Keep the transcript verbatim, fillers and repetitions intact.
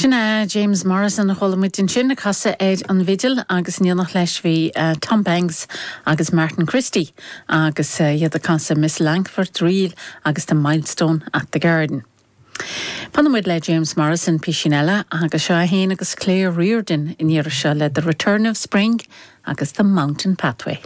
Sin é James Morrison a chuala muid ansin ag casadh ar an bhfidil agus in éineacht leis bhí uh, Tom Banks agus Martin Christie agus uh, iad ag casadh Miss Langford Reel agus the Milestone at the Garden. Fanfaidh muid le James Morrison píosa eile agus seo é féin agus Claire Reardon in iar seo le The Return of Spring agus the Mountain Pathway.